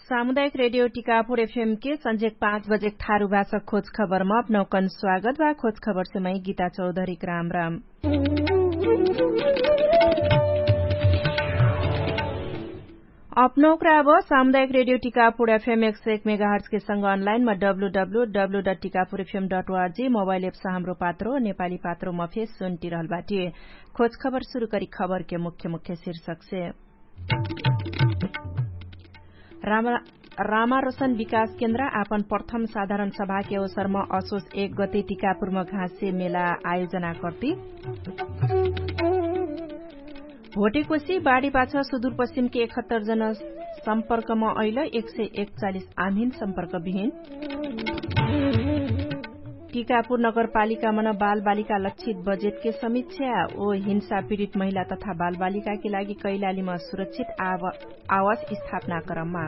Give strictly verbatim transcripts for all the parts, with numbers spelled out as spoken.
सामुदायिक रेडियो टिकापुर एफएम के संझेक पाँच बजेक थारु भाषा खोज खबरमा अपनौकन स्वागत बा। खोज खबरसे मै गीता चौधरीक राम राम। अपनौकरा अब सामुदायिक रेडियो टिकापुर एफएम एक सय एक मेगाहर्जके संग अनलाइनमा W W W dot Tikapur FM dot ORG mobile apps Hamro Patro Nepali पात्रोमा फेस सुन्टिरहल बाटी। खोज खबर सुरु करी खबरके मुख्य मुख्य शीर्षकसे। रामारोसन विकास केन्द्र आपन प्रथम साधारण सभाके अवसरमा असोस एक गते टिकापुरमा घाँसे मेला आयोजना कर्ति। भोटेकोसी बाढीपाछ सुदुरपश्चिमके एकहत्तर जन सम्पर्कमा अइल एक सय एकचालिस आमहिन सम्पर्क बिहिन। टिकापुर नगरपालिकामन बालबालिका लक्षित बजेटके समीक्षा ओ हिंसा पिडित महिला तथा बालबालिकाके लागि कैलालीमा सुरक्षित आवास स्थापना क्रममा।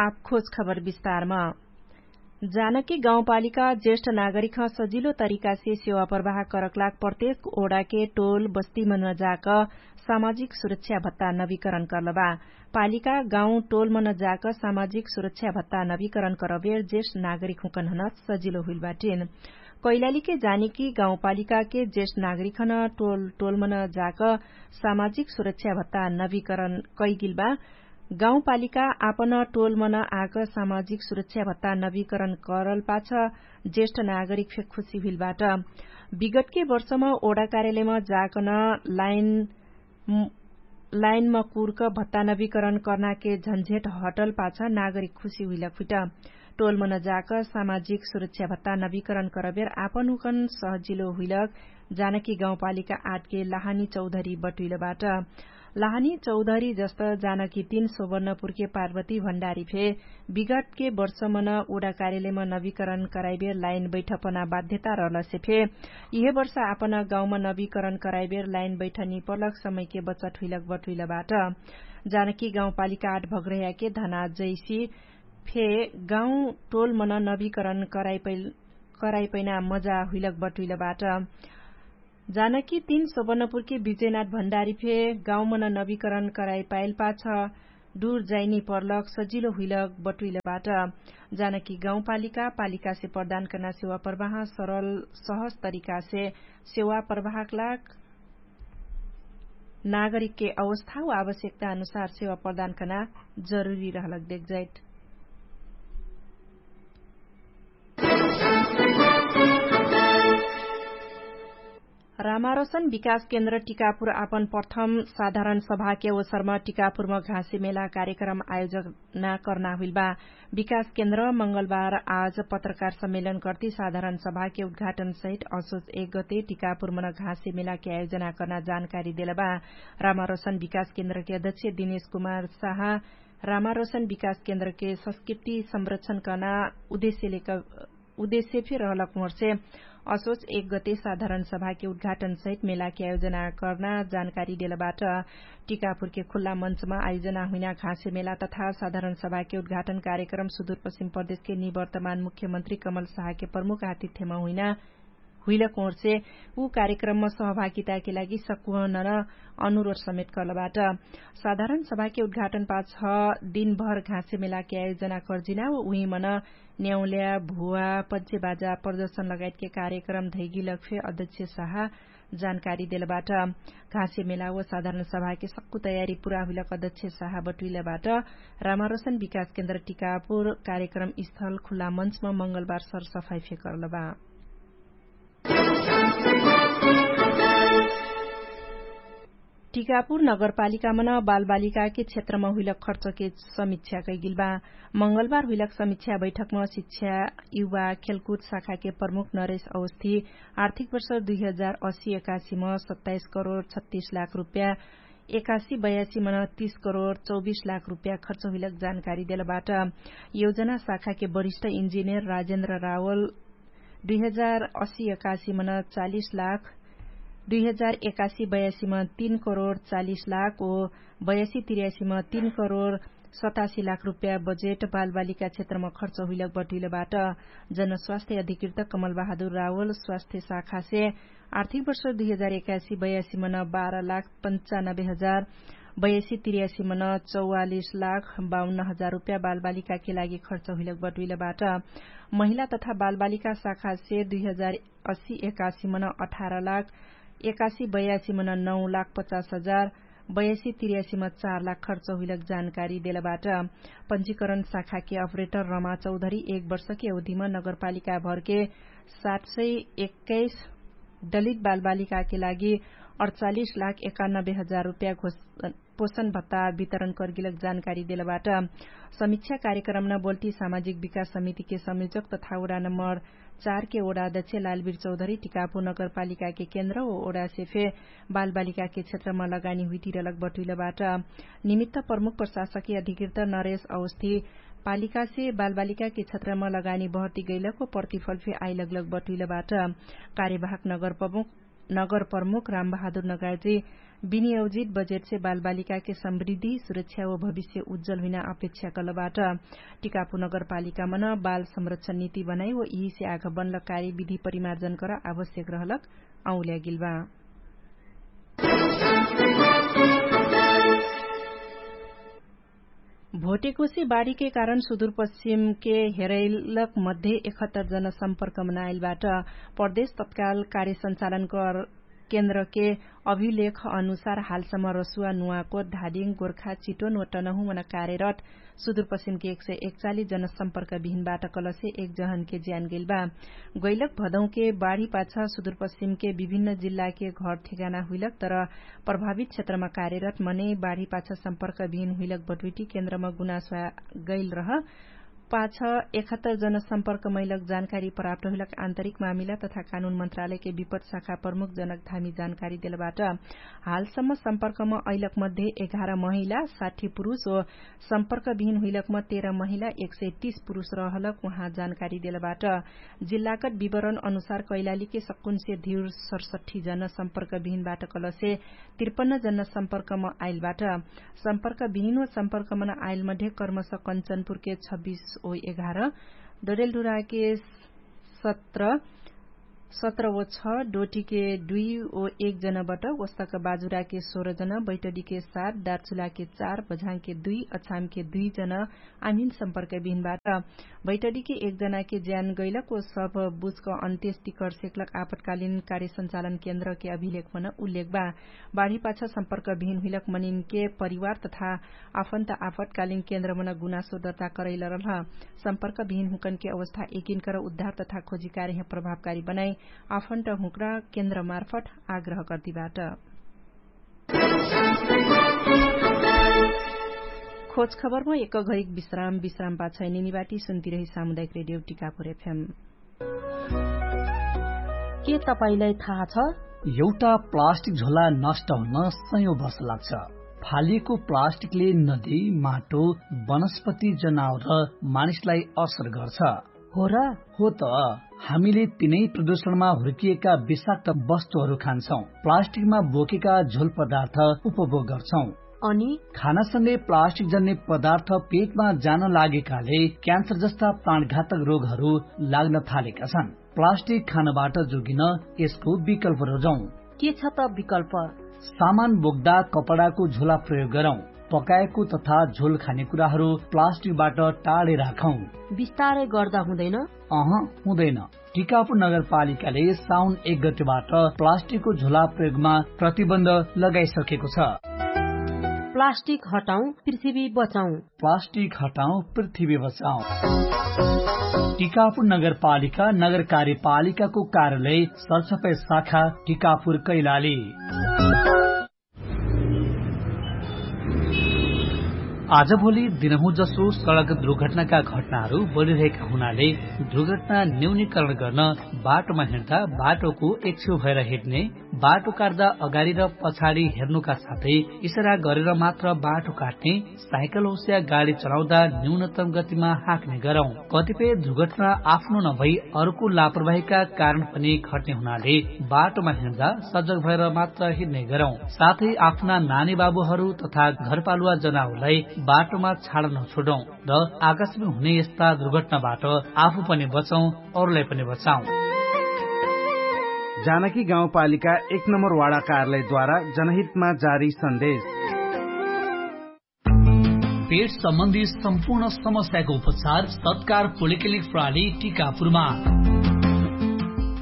आप खोज खबर विस्तारमा। जानकी गाउँपालिका ज्येष्ठ नागरिकह सजिलो तरिकासे सेवा प्रवाह करकलाक प्रत्येक ओडाके टोल बस्तीमन जाक सामाजिक सुरक्षा भत्ता नवीकरण कर्लबा। पालिका गाउँ टोलमन जाक सामाजिक सुरक्षा भत्ता नवीकरण करबेर ज्येष्ठ नागरिकहुँकनहन सजिलो हुइलबाटिन। कैलालीके जानकी गाउँपालिकाके ज्येष्ठ नागरिकहन टोल टोलमन जाक सामाजिक सुरक्षा भत्ता नवीकरण कैगिलबा। गाउँपालिका आपन टोलमन आक सामाजिक सुरक्षा भत्ता नवीकरण करलपाछ ज्येष्ठ नागरिक फे खुशी हुइलबाट। विगतके वर्षम ओडा कार्यालयम जाकन लाइन लाइनमा कुर्क भत्ता नवीकरण कर्नाके झन्झेट हटलपाछ नागरिक खुशी हुइलक हुइट। टोलमन जाक सामाजिक सुरक्षा भत्ता नवीकरण करबेर आपन हुकन सहजिलो हुइलक जानकी गाउँपालिका आठके लहानी चौधरी बटुइलबाट। लहानी चौधरी जस्त जानकी तीन सोबर्णपुरके पार्वती भण्डारी फे विगतके वर्षमन ओडा कार्यालयम नवीकरण कराइबेर लाइन बैठपना बाध्यता रहलसे फे इहे वर्ष आपन गाउँम नवीकरण कराइबेर लाइन बैठनी पर्लक समयके बचत हुइलक बटुइलबाट। जानकी गाउँपालिका आठ भग्रह्याके धना जैसी फे गाउँ टोलमन नवीकरण कराइपैना मजा हुइलक बटुइलबाट। जानकी तीन सोबर्णपुरके विजयनाथ भण्डारी फे गाउँमन नवीकरण कराइपाइलपाछ डुर जाइनी पर्लक सजिलो हुइलक बटुइलबाट। जानकी गाउँपालिका पालिकासे प्रदान कर्ना सेवा प्रवाह सरल सहज तरिकासे सेवा प्रवाहकलाक नागरिकके अवस्था वा आवश्यकता अनुसार सेवा प्रदान कर्ना जरुरी रहलक देखजाइट। रामारोसन विकास केन्द्र टिकापुर आपन प्रथम साधारण सभाके अवसरमा टिकापुरमा घाँसी मेला कार्यक्रम आयोजना कर्ना हुइलबा। विकास केन्द्र मंगलबार आज पत्रकार सम्मेलन कर्ति साधारण सभाके उद्घाटन सहित असोच एक गते टिकापुरमन घाँसी मेलाके आयोजना कर्ना जानकारी देलबा। रामारोसन विकास केन्द्रके अध्यक्ष दिनेश कुमार साहा रामारोसन विकास केन्द्रके संस्कृति संरक्षण कर्ना उद्देश्यले उद्देश्य फे रहलक मोर्से असोच एक गते साधारण सभाके उद्घाटन सहित मेलाके आयोजना कर्ना जानकारी देलबाट। टिकापुरके खुल्ला मञ्चमा आयोजना हुइना घाँसे मेला तथा साधारण सभाके उद्घाटन कार्यक्रम सुदुरपश्चिम प्रदेशके निवर्तमान मुख्यमन्त्री कमल साहके प्रमुख आतिथ्यमा हुइना हुइलक मोर्से उ कार्यक्रममा सहभागिताके लागि सकुहनन अनुरोध समेत कर्लबाट। साधारण सभाके उद्घाटन पाछ दिनभर घाँसे मेलाके आयोजना कर्जिना व उहिमन न्याउल्या भुवा पञ्चे बाजा प्रदर्शन लगायतके कार्यक्रम धैगिलक फे अध्यक्ष साहा जानकारी देलबाट। घाँसे मेला व साधारण सभाके सक्कु तयारी पुरा हुइलक अध्यक्ष साहा बटुइलबाट। रामारोसन विकास केन्द्र टिकापुर कार्यक्रम स्थल खुल्ला मञ्चमा मंगलबार सरसफाई फे कर्लबा। टिकापुर नगरपालिकामन बालबालिकाके क्षेत्रमा हुइलक खर्चके समिक्षा कैगिलबा। मंगलबार हुइलक समिक्षा बैठकमा शिक्षा युवा खेलकुद शाखाके प्रमुख नरेश अवस्थी आर्थिक वर्ष दुई हजार असी एकासीमा सत्ताइस करोड छत्तिस लाख रुप्या एकासी बयासीमन तीस करोड चौबिस लाख रुप्या खर्च हुइलक जानकारी देलबाट। योजना शाखाके वरिष्ठ इन्जिनियर राजेन्द्र रावल दुई हजार असी एकासीमन चालिस लाख दुई हजार एकासी बयासीमन तीन करोड चालिस लाख ओ बयासी तिर्यासीमन तीन करोड सतासी लाख रुप्या बजेट बालबालिका क्षेत्रमा खर्च हुइलक बटुइलबाट। जनस्वास्थ्य अधिकृत कमलबहादुर रावल स्वास्थ्य शाखासे आर्थिक वर्ष दुई हजार एकासी बयासी मन बाह्र लाख पन्चानब्बे हजार बयासी तिर्यासी मन चौवालिस लाख बाउन्न हजार रुप्या बालबालिकाके लागि खर्च हुइलक बटुइलबाट। महिला तथा बालबालिका शाखासे दुई हजार अस्सी एकासी मन अठार लाख एकासी बयासी मन नौ लाख पचास हजार बयासी तिर्यासी मन चार लाख खर्च हुइलक जानकारी देलबाट। पञ्जीकरण शाखाके अपरेटर रमा चौधरी एक वर्षके अवधिमा नगरपालिकाभरके सात सय एक्काइस दलित बालबालिकाके लागि अडचालिस लाख एकानब्बे हजार रुप्या घोषण पोषण भत्ता वितरण कर्गिलक जानकारी देलबाट। समीक्षा कार्यक्रम न बोल्टी सामाजिक विकास समितिके संयोजक तथा वडा नम्बर चारके वडा अध्यक्ष लालबीर चौधरी टिकापु नगरपालिकाके केन्द्र व वडासे फे बालबालिकाके क्षेत्रमा लगानी हुइतिरलक बटुइलबाट। निमित्त प्रमुख प्रशासकीय अधिकृत नरेश अवस्थी पालिकासे बालबालिकाके क्षेत्रमा लगानी बहर्ती गैलक व प्रतिफल फे आइलगलक बटुइलबाट। कार्यवाहक नगर प्रमुख नगर प्रमुख रामबहादुर नगार्जी विनियोजित बजेटसे बालबालिकाके समृद्धि सुरक्षा व भविष्य उज्जल हुइना अपेक्षा कलबाट। टिकापु नगरपालिकामन बाल संरक्षण नीति बनाइ व यिहिसे आघ बनलकारी विधि परिमार्जन कर आवश्यक रहलक औल्यागिलबा। भोटेकोसे बाढीके कारण सुदुरपश्चिमके हेरैलक मध्ये एकहत्तर जन सम्पर्कमा नाइलबाट। प्रदेश तत्काल कार्य सञ्चालन कर केन्द्रके अभिलेख अनुसार हालसम्म रसुवा नुवाकोट धादिङ गोर्खा चिटोन व टनहुमन कार्यरत सुदुरपश्चिमके एक सय एकचालिस जन सम्पर्क बिहिनबाट कलसे एक जहनके ज्यान गैलबा। गैलक भदौके बाढीपाछ सुदुरपश्चिमके विभिन्न जिल्लाके घर ठेगाना हुइलक तर प्रभावित क्षेत्रमा कार्यरत मनै बाढीपाछ सम्पर्क बिहिन हुइलक बटुइटी केन्द्रमा गुनासो गैल रह पाछ एकहत्तर जन सम्पर्क मैलक जानकारी प्राप्त हुइलक आन्तरिक मामिला तथा कानुन मन्त्रालयके विपत शाखा प्रमुख जनक धामी जानकारी देलबाट। हालसम्म सम्पर्कमा अइलक मध्ये एघार महिला साठी पुरुष व सम्पर्क बिहिन हुइलकमा तेह्र महिला एक सय तीस पुरुष रहलक उहाँ जानकारी देलबाट। जिल्लागत विवरण अनुसार कैलालीके सक्कुनसे धिउर सरसठी जन सम्पर्क बिहिनबाट कलसे त्रिपन्न जन सम्पर्कमा आइलबाट। सम्पर्क बिहिन व सम्पर्कमा आइल मध्ये कर्मस कञ्चनपुरके छब्बिस ओ एघार डडेलडुराके सत्र सत्र ओ छ डोटीके दुई ओ एक जनबाट वस्तक बाजुराके सोह्र जन बैटडीके सात दार्चुलाके चार बझाङके दुई अछामके दुई जन आमिन सम्पर्क बिहिनबाट। बैटडीके एक जनाके ज्यान गैलक ओ सब बुझक अन्त्येष्टि कर्सेकलक आपतकालिन कार्य सञ्चालन केन्द्रके अभिलेखमन उल्लेख बा। बाढीपाछ सम्पर्क बिहिन हुइलक मनिनके परिवार तथा आफन्त आपतकालिन केन्द्रमन गुनासो दर्ता करैलरलह। सम्पर्क बिहिन हुँकनके अवस्था एकिनकर उद्धार तथा खोजी कार्यह प्रभावकारी बनाइ आफन्त हुँक्रा केन्द्रमार्फट आग्रह गर्दिबाट। खोज खबरमा एक घरिक विश्राम विश्राम पाछै निनिबाटी सुन्तिरही सामुदायिक रेडियो टिकापुर एफएम। के तपाईंलाई थाहा छ? एउटा प्लास्टिक झोला नष्ट हुन सयौं वर्ष लाग्छ। फालिएको प्लास्टिकले नदी, माटो, वनस्पति, जनावर र मानिसलाई असर गर्छ। हो र? हो त। हामीले तिनै प्रदूषणमा हुर्किएका विषाक्त वस्तुहरू खान्छौं। प्लास्टिकमा बोकेका झोल पदार्थ उपभोग गर्छौं। अनि खानासँगै प्लास्टिक जन्ने पदार्थ पेटमा जान लागेकाले क्यान्सर जस्ता प्राणघातक रोगहरू लाग्न थालेका छन्। प्लास्टिक खानबाट जोगिन यसको विकल्प रोजौं। के छ त विकल्प? सामान बोक्दा कपडाको झोला प्रयोग गरौं। पकाएको तथा झोल खाने कुराहरू प्लास्टिकबाट टाढे राखौं। बिस्तारै गर्दा हुँदैन? अह, हुँदैन। टिकापुर नगरपालिकाले साउन एक गतेबाट प्लास्टिकको झोला प्रयोगमा प्रतिबन्ध लगाइसकेको छ। प्लास्टिक हटाउँ, पृथ्वी बचाउँ। प्लास्टिक हटाउँ, पृथ्वी बचाउँ। टिकापुर नगरपालिका, नगर कार्यपालिकाको कार्यालय, सरसफाई शाखा, टिकापुर, कैलाली। आजभोलि दिनहुँ जसो सडक दुर्घटनाका घटनाहरू बढिरहेका हुनाले दुर्घटना न्यूनीकरण गर्न बाटोमा हिँड्दा बाटोको एक छेउ भएर हिँड्ने, बाटो काट्दा अगाडि र पछाडि हेर्नुका साथै इसारा गरेर मात्र बाटो काट्ने, साइकल होस्या गाडी चलाउँदा न्यूनतम गतिमा हाँक्ने गरौँ। कतिपय दुर्घटना आफ्नो नभई अर्को लापरवाहीका कारण पनि घट्ने हुनाले बाटोमा हिँड्दा सजग भएर मात्र हिँड्ने गरौँ। साथै आफ्ना नानी बाबुहरू तथा घरपालुवा जनावरलाई बाटोमा छाडा नछोडौँ र आकाशमा हुने यस्ता दुर्घटनाबाट आफू पनि बचौँ, अरूलाई पनि बचाउँ। जानकी गाउँपालिका एक नम्बर वाडा कार्यालयद्वारा जनहितमा जारी सन्देश। पेट सम्बन्धी सम्पूर्ण समस्याको उपचार तत्कार पोलिक्लिनिक प्रणाली टिकापुरमा।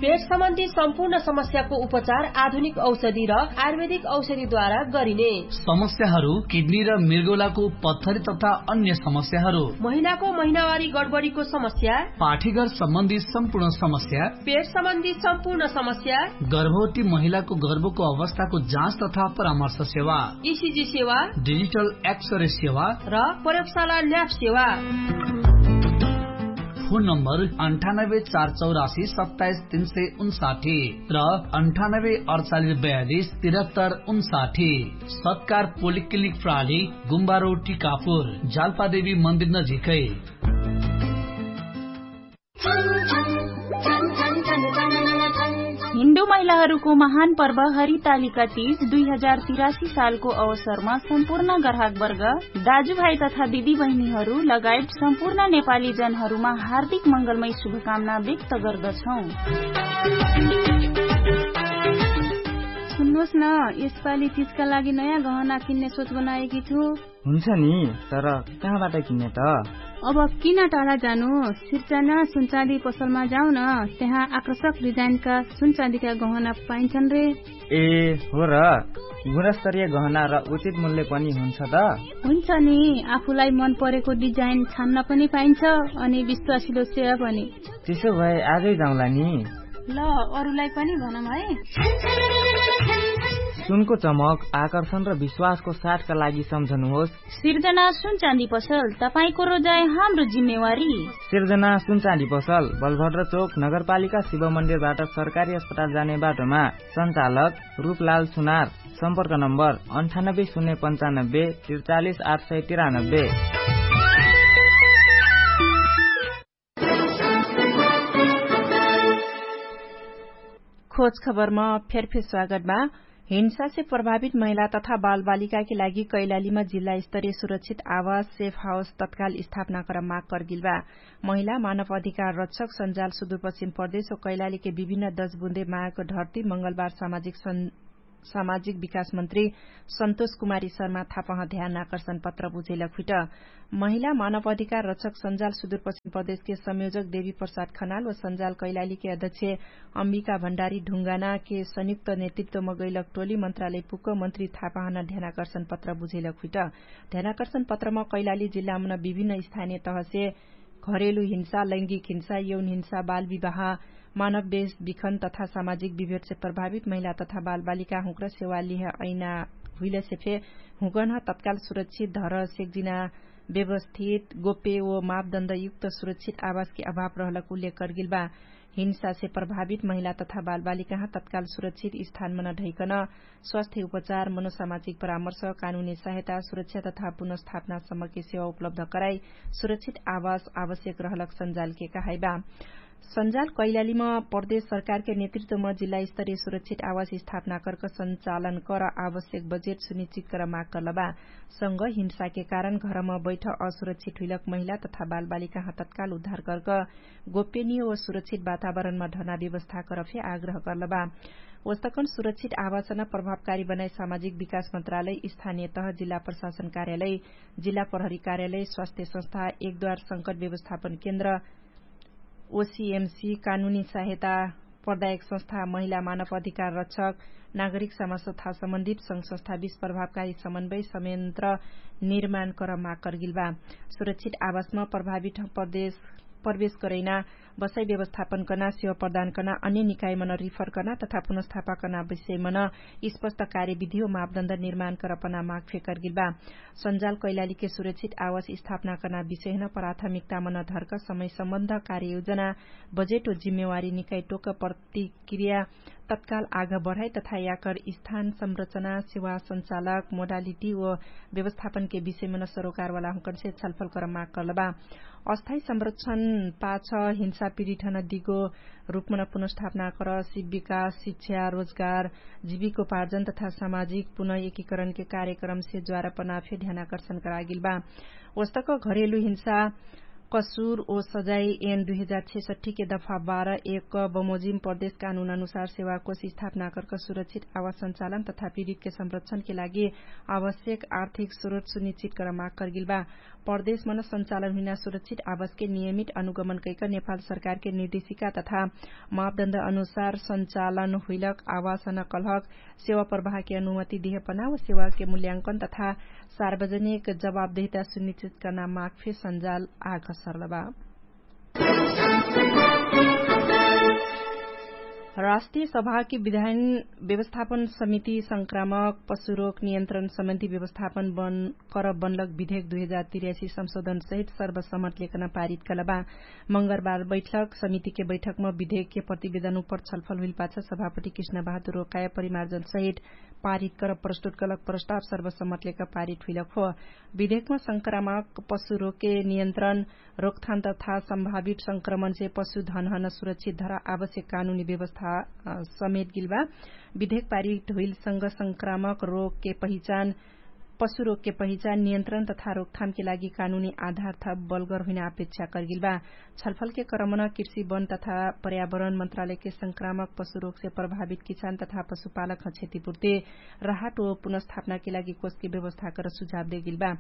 पेट सम्बन्धी सम्पूर्ण समस्याको उपचार आधुनिक औषधि र आयुर्वेदिक औषधिद्वारा गरिने। समस्याहरू किडनी र मृगौलाको पत्थरी तथा अन्य समस्याहरू, महिनाको महिनावारी गडबडीको समस्या, पाठीघर सम्बन्धी सम्पूर्ण समस्या, पेट सम्बन्धी सम्पूर्ण समस्या, गर्भवती महिलाको गर्भको अवस्थाको जाँच तथा परामर्श सेवा, इसिजी सेवा, डिजिटल एक्सरे सेवा र प्रयोगशाला ल्याब सेवा। फोन नम्बर अन्ठानब्बे चार चौरासी सत्ताइस तीन सय उन्साठी र अन्ठानब्बे अडचालिस बयालिस तिरहत्तर उन्साठी। सत्कार पोलिक्लिनिक प्रणाली, गुम्बारो टिकापुर, जालपादेवी मन्दिर नजिकै। हिन्दू महिलाहरूको महान पर्व हरितालिका तीज दुई हजार तिरासी सालको अवसरमा सम्पूर्ण ग्राहकवर्ग, दाजुभाइ तथा दिदीबहिनीहरू लगायत सम्पूर्ण नेपाली जनहरूमा हार्दिक मङ्गलमय शुभकामना व्यक्त गर्दछौँ। सुन्नुहोस् न, यसपालि तीजका लागि नयाँ गहना किन्ने सोच बनाएकी छु। हुन्छ नि, तर कहाँबाट किन्ने त? अब किन टाढा जानु? सिर्जना सुनचाँदी पसलमा जाऊ न, त्यहाँ आकर्षक डिजाइनका सुनचाँदीका गहना पाइन्छन् रे। ए, हो र? गुणस्तरीय गहना र उचित मूल्य पनि हुन्छ त? हुन्छ नि, आफूलाई मन परेको डिजाइन छान्न पनि पाइन्छ, अनि विश्वासिलो सेवा पनि। त्यसो भए आजै जाउँला नि। ल, अरूलाई पनि भनौँ है। सुनको चमक, आकर्षण र विश्वासको साथका लागि सम्झनुहोस्। सिर्जना सुनचाँदी पसल, तपाईंको रोजाइ हाम्रो जिम्मेवारी। सिर्जना सुनचाँदी पसल, बलभद्र चोक, नगरपालिका शिव मन्दिरबाट सरकारी अस्पताल जाने बाटोमा। सञ्चालक रूपलाल सुनार। सम्पर्क नम्बर अन्ठानब्बे शून्य पन्चानब्बे त्रिचालिस आठ सय तिरानब्बे। खोज खबरमा फेरफेर स्वागत बा। हिंसासे प्रभावित महिला तथा बालबालिकाके लागि कैलालीमा जिल्ला स्तरीय सुरक्षित आवास सेफ हाउस तत्काल स्थापना कर माग करगिल बा। महिला मानव अधिकार रक्षक सञ्जाल सुदूरपश्चिम प्रदेश ओ कैलालीके विभिन्न दशबुन्दे माग ढर्ती मंगलबार सामाजिक सञ्जाल सामाजिक विकास मन्त्री सन्तोष कुमारी शर्मा थापह ध्यान आकर्षण पत्र बुझैलक हुइट। महिला मानव अधिकार रक्षक सञ्जाल सुदूरपश्चिम प्रदेशके संयोजक देवी प्रसाद खनाल व सञ्जाल कैलालीके अध्यक्ष अम्बिका भण्डारी ढुङ्गानाके संयुक्त नेतृत्वम गैलक टोली मन्त्रालय पुक्क मन्त्री थापहन ध्यानाकर्षण पत्र बुझैलक हुइट। ध्यानाकर्षण पत्रम कैलाली जिल्लामन विभिन्न स्थानीय तहसे घरेलु हिंसा, लैंगिक हिंसा, यौन हिंसा, बाल विवाह, मानव बेस बिखन तथा सामाजिक विभेटसे प्रभावित महिला तथा बालबालिका हुँक्र सेवा लिह ऐना हुइलसे फे हुँकन तत्काल सुरक्षित धर सेक्जिना व्यवस्थित गोप्य ओ मापदण्डयुक्त सुरक्षित आवासके अभाव रहलक उल्लेख करगिल बा। हिंसासे प्रभावित महिला तथा बालबालिकाहाँ तत्काल सुरक्षित स्थानमन ढैकन स्वास्थ्य उपचार, मनोसामाजिक परामर्श, कानुनी सहायता, सुरक्षा तथा पुनर्स्थापनासम्मके सेवा उपलब्ध कराई सुरक्षित आवास आवश्यक रहलक सञ्जालके कहाइबा। सञ्जाल कैलालीम प्रदेश सरकारके नेतृत्वम जिल्ला स्तरीय सुरक्षित आवास स्थापना कर्क सञ्चालन कर आवश्यक बजेट सुनिश्चित कर माग कर्लबा। संग हिंसाके कारण घरम बैठ असुरक्षित हुइलक महिला तथा बालबालिकाहाँ तत्काल उद्धार कर्क गोप्यनीय ओ सुरक्षित वातावरणमा ढना व्यवस्था कर फे आग्रह कर्लबा। ओस्तकन सुरक्षित आवासन प्रभावकारी बनाई सामाजिक विकास मन्त्रालय स्थानीय तह जिल्ला प्रशासन कार्यालय जिल्ला प्रहरी कार्यालय स्वास्थ्य संस्था एकदवार संकट व्यवस्थापन केन्द्र ओसिएमसी कानुनी सहायता प्रदायक संस्था महिला मानव अधिकार रक्षक नागरिक समाज तथा सम्बन्धित संघ संस्था बीच प्रभावकारी समन्वय संयन्त्र निर्माण कर माग करगिल बा। सुरक्षित आवासमा प्रभावित प्रदेश प्रवेश करैना बसाइ व्यवस्थापन कर्ना सेवा प्रदान कर्ना अन्य निकायमन रिफर कर्ना तथा पुनस्थापा कर्ना विषयमन स्पष्ट कार्यविधि ओ मापदण्ड निर्माण कर पना माग फेकरगिल बा। सञ्जाल कैलालीके सुरक्षित आवास स्थापना कर्ना विषयहन प्राथमिकतामन धर्क समय सम्बन्ध कार्ययोजना बजेट ओ जिम्मेवारी निकाय टोक प्रतिक्रिया तत्काल आग बढाइ तथा याकर स्थान संरचना सेवा सञ्चालक मोडालिटी ओ व्यवस्थापनके विषयमन सरोकारवाला हुँकनसे छलफल कर माग कर्लबा। अस्थायी संरक्षण पाछ पीडिठन दिगो रूपमन पुनर्स्थापना कर सिप विकास शिक्षा रोजगार जीविकोपार्जन तथा सामाजिक पुनः एकीकरणके कार्यक्रमसे ज्वारपना फे ध्यानाकर्षण करागेल बा। वस्तक घरेलु हिंसा कसुर ओ सजाइ एन दुई हजार छेसठ्ठीके दफा बाह्र एक बमोजिम प्रदेश कानुन अनुसार सेवाकोष स्थापना करक सुरक्षित आवास सञ्चालन तथा पीडितके संरक्षणके लागि आवश्यक आर्थिक स्रोत सुनिश्चित कर माग करगेल बा। प्रदेशमन सञ्चालन हुइना सुरक्षित आवासके नियमित अनुगमन कैक नेपाल सरकारके निर्देशिका तथा मापदण्ड अनुसार सञ्चालन हुइलक आवासन कलहक सेवा प्रवाहके अनुमति देहपना व सेवाके मूल्यांकन तथा सार्वजनिक जवाबदेहिता सुनिश्चित कर्ना माग फे सञ्जाल आग सर्लबा। राष्ट्रिय सभाके विधान व्यवस्थापन समिति संक्रामक पशुरोग नियन्त्रण सम्बन्धी व्यवस्थापन बन कर बनलक विधेक दुई हजार तिर्यासी संशोधन सहित सर्वसम्मत लेकन पारित कलबा। मंगरबार बैठक समितिके बैठकम विधेकके प्रतिवेदन उपर छलफल हुइलपाछ सभापति कृष्ण बहादुर रोकाय परिमार्जन सहित पारित कर प्रस्तुत कलक प्रस्ताव सर्वसम्मत लेक पारित हुइलक हो। विधेकम संक्रामक पशुरोगके नियन्त्रण रोकथान तथा सम्भावित संक्रमणसे पशुधनहन सुरक्षित धरा आवश्यक कानुनी व्यवस्था समेत गिलबा। विधेक पारित हुइलसँग संक्रामक रोगके पहिचान पशुरोगके पहिचान नियन्त्रण तथा रोकथामके लागि कानुनी आधार थप बलगर हुइना अपेक्षा करगिलबा। छलफलके क्रमन कृषि वन तथा पर्यावरण मन्त्रालयके संक्रामक पशुरोगसे प्रभावित किसान तथा पशुपालक ह क्षतिपुर्ति राहट ओ पुनर्स्थापनाके लागि कोषके व्यवस्था कर सुझाव देगिलबा।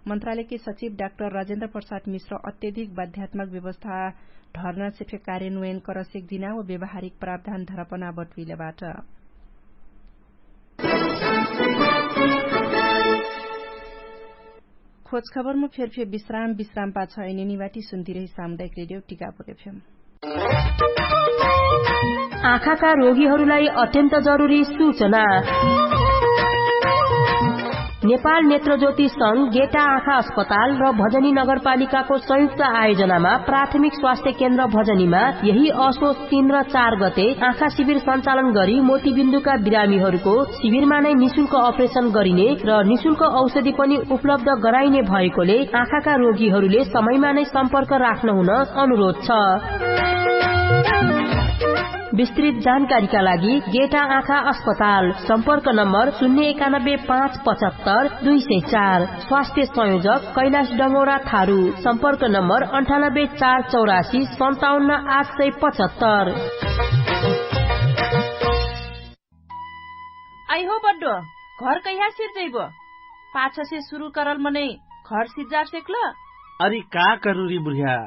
मन्त्रालयके सचिव डाक्टर राजेन्द्र प्रसाद मिश्र अत्यधिक बाध्यात्मक व्यवस्था ढर्नासे फे कार्यान्वयन करसेक दिना व व्यवहारिक प्रावधान धरपना बटुइलबाट। खोजखबरमा फेरफेर विश्राम विश्राम पाछ एनिनिवाटी सुन्तिरही सामुदायिक रेडियो टिकापुर एफएम। आँखाका रोगीहरूलाई अत्यन्त जरुरी सूचना। नेपाल नेत्रज्योति संघ गेटा आँखा अस्पताल र भजनी नगरपालिकाको संयुक्त आयोजनामा प्राथमिक स्वास्थ्य केन्द्र भजनीमा यही असोच तीन र चार गते आँखा शिविर सञ्चालन गरी मोतीबिन्दुका बिरामीहरूको शिविरमा नै निशुल्क अपरेसन गरिने र निशुल्क औषधि पनि उपलब्ध गराइने भएकोले आँखाका रोगीहरूले समयमा नै सम्पर्क राख्न हुन अनुरोध छ। विस्तृत जानकारीका लागि गेटा आँखा अस्पताल सम्पर्क नम्बर शून्य एकानब्बे पाँच पचहत्तर दुई सय चार। स्वास्थ्य संयोजक कैलाश डङ्गोरा थारू सम्पर्क नम्बर अन्ठानब्बे चार चौरासी सन्ताउन्न आठ सय पचहत्तर। आइहो बड्डो, घर कैहा सिर्जैबो? पाछसे सुरु करल मनै घर सिर्जार सेक्ल? अरि का करुरी बुढ्या?